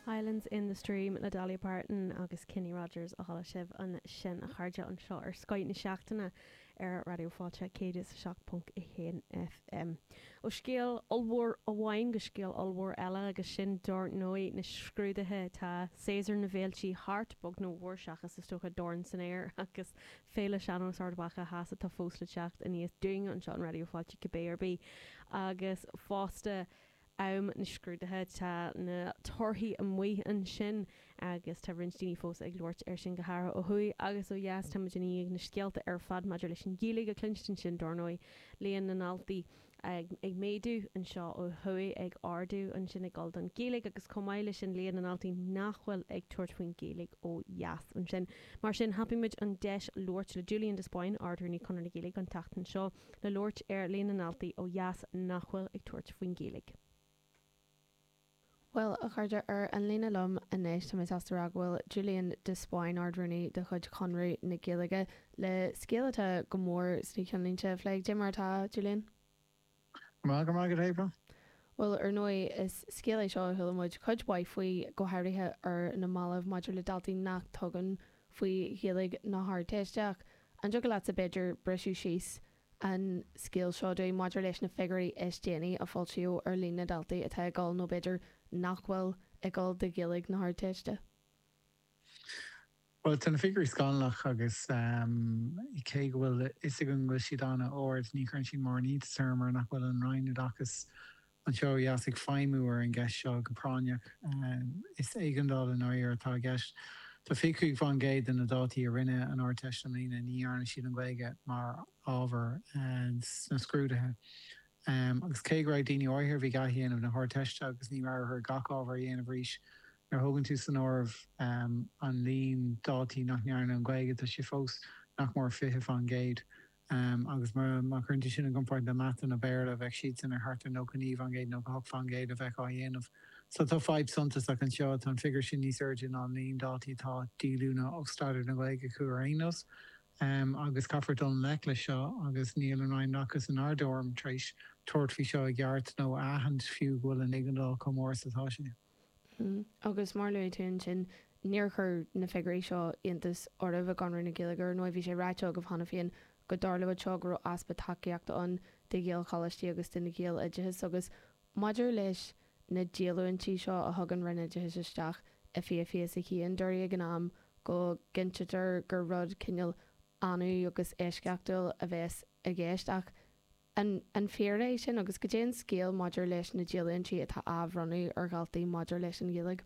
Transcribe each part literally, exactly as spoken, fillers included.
Islands in the Stream le Dolly Parton agus Kenny Rogers a chuala sibh ansin, a chairde, anseo ar Scoth na Seachtaine ar Raidió Fáilte céad is a seacht ponc a haon F M. Ó scéal ollmhór amháin go scéal ollmhór eile, agus sin dár ndóigh na scrúduithe. Tá séasúr na bhféiltí thart, beag nó mór, seachas is dócha Dorn san Aer agus Féile Sean-Nós Ard Mhacha Theas atá fós le teacht aníos dúinn anseo an Raidió Fáilte cibé ar bith, agus fosta am na scrúduithe. Tá na torthaí amuigh ansin agus tá roinnt daoine fós ag labhairt ar sin, go háirithe ó thuaidh agus ó dheas. Tá muid ag na scéalta ar fad maidir leis an Ghaeilge a chluinstin sin, dár ndóigh, líon na ndaltaí ag, ag méadú anseo ó thuaidh, ag ardú ansin ag dul don Ghaeilge, agus chomh maith leis sin líon na ndaltaí nach bhfuil ag tabhairt faoin Ghaeilge ó dheas ansin. Mar sin, thapaigh muid an deis labhairt le Julian de Spáinn, Ard-Rúnaí Chonradh na Gaeilge, an tseachtain seo le labhairt ar líon na ndaltaí ó dheas nach bhfuil ag tabhairt faoin Ghaeilge. Well, a chairde, ar an líne liom anois tá mé sásta rá go bhfuil Julian de Spáinn, Ard-Rúnaí de chuid Chonradh na Gaeilge, le scéal atá go mór sna ceannlínte a phlé. Cad é mar atá, Julian? Mar go mar go April. Well, ar ndóigh, is scéal é seo a chuala muid cuid mhaith faoi, go háirithe ar na mallaibh, maidir le daltaí nach dtugann faoi Ghaeilge na hArdteiste. Ach an dtiocfadh leatsa b'fhéidir briseadh síos an scéal seo dúinn maidir leis na figiúirí is déanaí a foilsíodh ar líon na ndaltaí atá ag dul nó b'fhéidir nach bhfuil ag dul do Ghaeilge na hArdteiste? Well, tá na figiúirí scannalach agus um, cé go bhfuil is go bhfuil siad an-ard, ní chuireann siad mórán iontais orm mar nach bhfuil an Roinn Oideachais anseo ó dheas ag feidhmiú ar an gceist seo go práinneach. um, Is éigeandáil an áir atá i gceist. Tá fiche faoin gcéad de na daltaí a rinne an Ardteist i mbliana, ní dhearna siad an Ghaeilge mar ábhar sna scrúduithe. Um, agus cé go raibh daoine áirithe bhí gá dhéanamh na hArdteiste agus ní raibh gach ábhar a dhéanamh arís, nuair a thugann tú san áireamh um, an líon daltaí nach ndearna an Ghaeilge, tá sé fós nach mór fiche faoin gcéad. Um, agus mar má chuireann tú sin i gcomparáid le Mata nó Béarla, bheadh siad sin ar thart ar nócha naoi faoin gcéad nó hocht faoin gcéad a bheith á dhéanamh. So tá fadhb suntasach anseo. Tá an figiúr sin níos airde ná an líon daltaí atá díolúine ó staidéar na Gaeilge acu ar aon nós. Um, agus caithfear dul i ngleic leis seo, agus níl an Roinn Oideachais in ár dtuairim tar éis tabhairt faoi seo i gceart nó aithint fiú go bhfuil an éigeandáil chomh mór is atá sé. Mm. Agus mar luaigh tú ansin, níor chuir na figiúirí seo iontas oraibh i gConradh na Gaeilge. Ar ndóigh, bhí sé ráite agaibh cheana féin go dtarlódh seo, go raibh easpa tacaíochta ann do Ghaelcholáistí agus do na Gaeloideachas, agus maidir leis na díolúintí seo a thugann Roinn Oideachais isteach i fiche fiche a haon, dúradh ag an am go gcinntear gur rud cineál annamh agus eisceachtúil a bheas i gceist, ach an an fíor é sin, agus cad é an scéal maidir leis na díolúintí atá á bhronnadh ar dhaltaí maidir leis an Ghaeilge?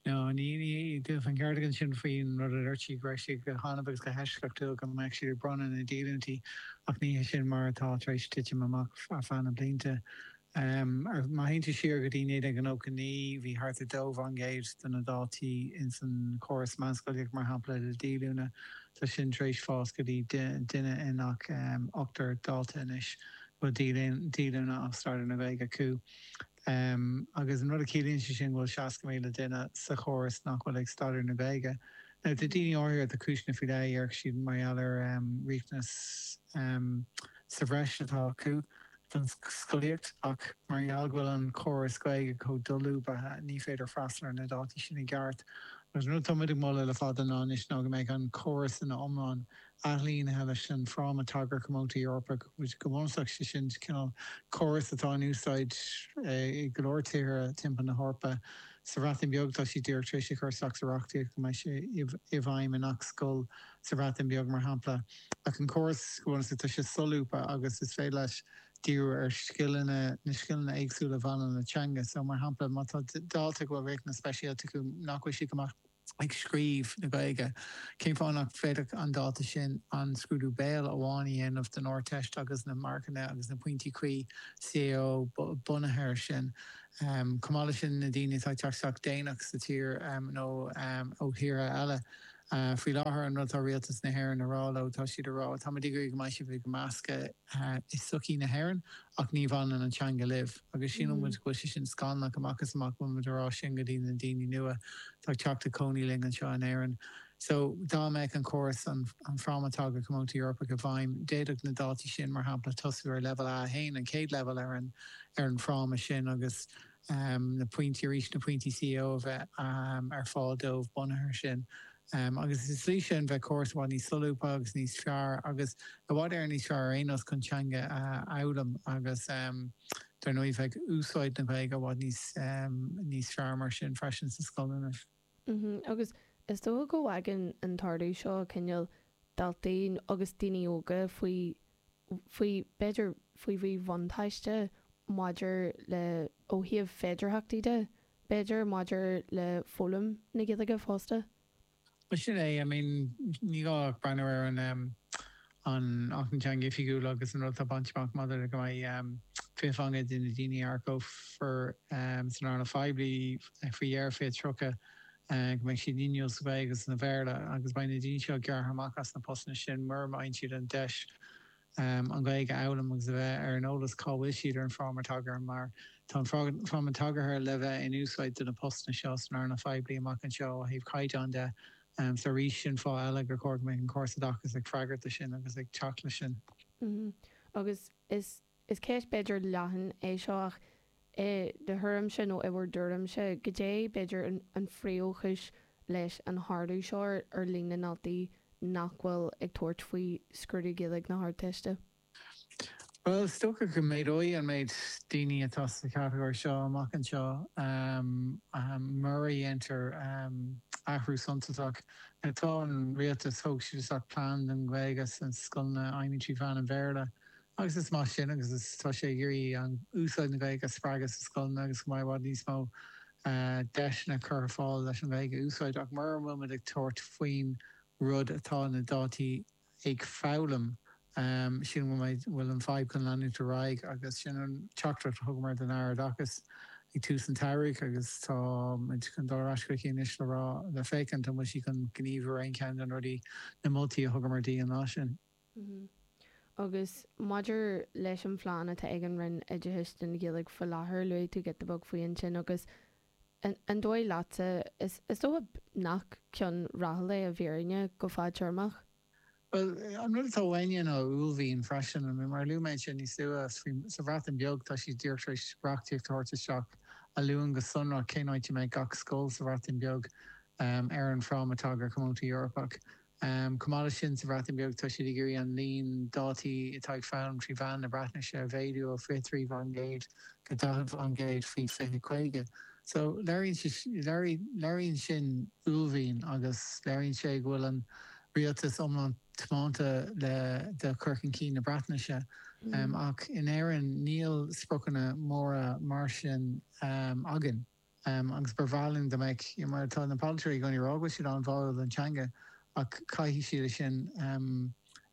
No, ní ní an ceart sin faoin rud a dúirt sí, go raibh sé go hannamh agus go heisceachtúil go mbeadh siad ag bronnadh na díolúintí, ach ní sin mar atá tar éis titim amach ar feadh na blianta. Um, má théann tú siar go dtí naoi déag nócha naoi, bhí thart ar dó faoin gcéad de na daltaí in san chóras meánscolaíocht, mar shampla, le díolúine. Tá sin tar éis fás go dtí duine i ngach um, ochtar dalta anois bhfuil díolúine ó staidéar na Gaeilge acu. Um, agus an rud a chiallaíonn sé sin bhfuil seasca míle duine sa chóras nach bhfuil ag staidéar na Gaeilge. Now, tá daoine áirithe tá cúiseanna faoi leith siad mar gheall ar um, riachtanas um, sa bhreis atá acu don scolaíocht, ach mar gheall go bhfuil an córas Gaeilge chomh dolúbtha, ní féidir freastal ar na daltaí sin i gceart. Agus rud atá muid ag moladh le fada ná anois ná go mbeidh an córas ina iomlán ailínithe leis an fráma tagartha comónta Eorpach, which go bunúsach sé sin cineál córas atá in úsáid i go leor tíortha timpeall na hEorpa. Sa Bhreatain Bheag, tá sí díreach tar éis chur isteach sa reachtaíocht go mbeidh sé i bhfeidhm i ngach scoil sa Bhreatain Bheag, mar shampla. Ach an córas go bunúsach, tá sé solúbtha agus is féidir leis díriú ar scileanna, na scileanna éagsúla a bhaineann le teanga. So mar shampla, má tá dalta go bhfuil riachtanas speisialta acu nach bhfuil siad go maith ag scríobh na Gaeilge, cén fáth nach bhféadfadh an dalta sin an scrúdú béil amháin a dhéanamh den Ardteist agus na marcanna agus na pointí cuí C A O bunaithe air sin? Um, Chomh maith sin, na daoine atá teacht déanach sa tír um, nó um, ó thíortha eile. Uh, faoi láthair, an rud atá rialtas na hÉireann a rá leo, tá siad ag rá, "Tá muid ag go mbeidh sibh ag meascadh uh, i sochaí na hÉireann, ach ní bhaineann an teanga libh," agus sin mm. go sé sin scannalach amach is amach muid a rá sin go dtí na daoine nua tá teacht ag cónaí linn anseo in Éirinn. So dá mbeadh an córas an, an fráma tagartha comónta Eorpach i bhfeidhm, d'fhéadfadh na daltaí sin, mar shampla, tosú ar level A haon, an chéad level ar an ar an fráma sin, agus na pointí arís na pointí CAO a bheith ar fáil dóibh bunaithe air sin. Agus sa tslí sin bheadh córas i bhfad níos solúbtha agus níos fearr agus i bhfad Éireann níos fearr ar aon nós chun teanga a fhoghlaim agus dar ndóigh bheadh úsáid na Gaeilge i bhfad níos níos fearr mar sin freisin sna scoileanna. Agus is dócha go bhfágann an t-ardú seo cineál daltaí agus daoine óga faoi faoi b'fhéidir faoi mhíbhuntáiste maidir le ó thaobh féidearthachtaí de, b'fhéidir maidir le foghlaim na Gaeilge fosta. Bhuel sin é, I mean ní gá ach breathnú ar an an Acht na Teanga Oifigiúil agus an rud atá bainte amach maidir le go mbeidh fiche faoin gcéad de na daoine a earcófar san earnáil phoiblí faoi dheireadh fiche tríocha go mbeidh siad inniúil sa Ghaeilge agus sa Bhéarla agus beidh na daoine seo gearrtha amach as na postanna sin mura bhfaigheann siad an deis an Ghaeilge a fhoghlaim agus a bheith ar an eolas cá bhfuil siad ar an bhfráma tagartha mar tá an fráma tagartha le bheith in úsáid do na postanna seo san earnáil phoiblí amach anseo ó thaobh caighdeán de. So arís sin fáth eile gur chóir go mbeadh an córas oideachais ag freagairt do sin agus ag teacht leis sin. Agus is is ceist b'fhéidir leathan é seo ach i do thuairimse nó i bhur dtuairimse, goidé b'fhéidir an phríomhchúis leis an ardú seo ar líon na ndaltaí nach bhfuil ag tabhairt faoi scrúdú Gaeilge na hArdteiste? Bhuel, is dócha go méadóidh an méid daoine atá sa chatagóir seo amach anseo mura dhéantar athrú suntasach. Tá an rialtas, thóg siad isteach plean don Ghaeilge sna scoileanna a fheidhmíonn trí mheán an Bhéarla agus is maith sin agus is tá sé ag iarraidh an úsáid na Gaeilge a spreagadh sna scoileanna agus go mbeidh i bhfad níos mó deiseanna curtha ar fáil leis an Ghaeilge a úsáid ach mura bhfuil muid ag tabhairt faoin rud atá na daltaí ag foghlaim, sílim go bhfuil an fadhb chun leanúint ar aghaidh agus sin an teachtaireacht a thugamar don Aire Oideachais ag tús an tsamhraidh agus tá muid chun dul ar ais chuici anois le rá le féachaint an bhfuil sí chun gníomhú ar aon cheann de na rudaí, na moltaí a thugamar di an lá sin. Agus maidir leis an phlean atá ag an Roinn Oideachais don Ghaeilge faoi láthair, luaigh tú giota beag faoi ansin agus an dóigh leatsa, is dócha nach ceann rathúil é i bhfírinne go fadtéarmach? Bhuel, an rud atá uainne ná uaillmhian freisin. Mar a luaigh mé ansin níos luaithe, sa Bhreatain Bheag tá siad díreach tar éis reachtaíocht a thabhairt isteach a luann go sonrach cén áit a mbeidh gach scoil sa Bhreatain Bheag ar an bhFráma Tagartha Comónta Eorpach. Chomh maith leis sin, sa Bhreatain Bheag tá siad ag iarraidh an líon daltaí atá ag foghlaim trí mheán na Breatnaise a mhéadú ó fiche trí faoin gcéad go daichead faoin gcéad faoi fiche caoga. So léiríonn sin uaillmhian agus léiríonn sé go bhfuil an rialtas iomlán tiomanta le do chur chun cinn na Breatnaise. Ach in Éirinn níl spriocanna móra mar sin againn. Agus ba bhreá linn dá mbeadh, mar tá na polaiteoirí i gcónaí ag rá go bhfuil siad an-bháúil don teanga ach caithfidh siad é sin,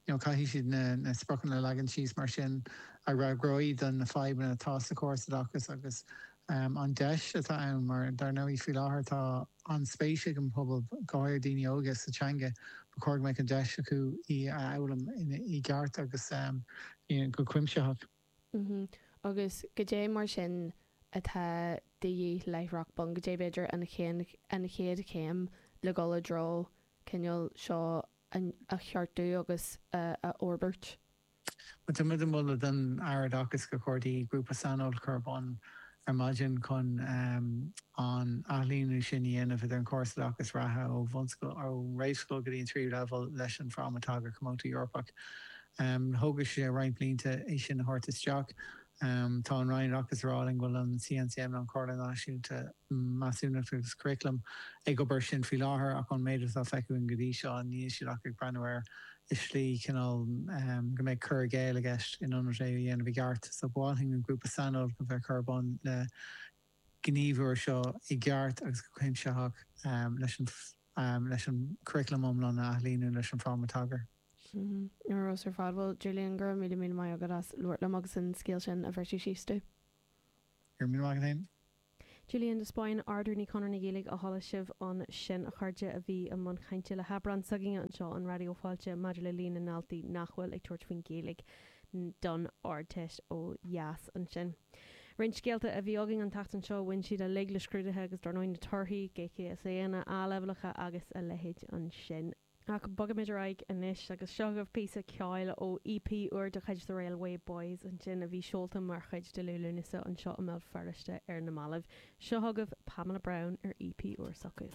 you know, caithfidh siad na na spriocanna a leagan síos mar sin a fhreagróidh do na fadhbanna atá sa chóras oideachais agus an deis atá ann mar dar ndóigh faoi láthair tá an-spéis ag an bpobal, go háirithe daoine óga, sa teanga, ba chóir go mbeadh an deis acu í a fhoghlaim i gceart agus go cuimsitheach. Agus goidé mar sin atá de dhíth láithreach bonn, goidé b'fhéidir an an chéad chéim le dhul i dtreo cineál seo a cheartú agus a fhorbairt? Bhuel, tá muid ag moladh don Aire Oideachais gur chóir di grúpa saineolais a chur ar bun ar maidin chun an ailíniú sin a dhéanamh idir an córas oideachais reatha ó bhunscoil, ó réamhscoil go dtí an tríú leibhéal leis an bhFráma Tagartha Comónta Eorpach. Thógfaidh sé roinnt blianta é sin a thabhairt isteach. Tá an Roinn Oideachais ag rá linn go bhfuil an CNCM, nó an Chomhairle Náisiúnta Measúnachta agus Curaclaim, ag obair air sin faoi láthair ach ón méid atá feicthe againn go dtí seo níl siad ach ag breathnú air i slí cineál go mbeidh cur i gcéill i gceist in ionad é a dhéanamh i gceart. So ba mhaith linn an grúpa saineolais a bheith curtha ar bun le gníomhú air seo i gceart agus go cuimsitheach leis an leis an curaclam iomlán a athailíniú leis an bhFráma Tagartha. Ar fheabhas ar fad. Bhuel, Julian, go raibh míle míle maith agat as labhairt liom agus an scéal sin a bhriseadh síos domh. Go raibh míle maith agat féin. Julian de Spáinn, Ard-Rúnaí Chonradh na Gaeilge a chuala sibh ansin, a chairde, a bhí i mbun cainte le hAibreán s'againne anseo on Raidió Fáilte maidir le líon na ndaltaí nach bhfuil ag tabhairt faoin Ghaeilge don Ardteist ó dheas ansin. Roinnt scéalta a bhí againn an tseachtain seo, bhain siad uilig le scrúduithe agus dar ndóigh na torthaí, GCSEanna, A-leibhéalacha agus a leithéid ansin. Ach bogaimid ar aghaidh anois agus seo agaibh píosa ceoil ó EP úr de chuid The Railway Boys ansin a bhí seolta mar chuid de Liú Lúnasa anseo i mBéal Feirste ar na mallaibh. Seo agaibh Pamela Brown ar EP úr s'acu.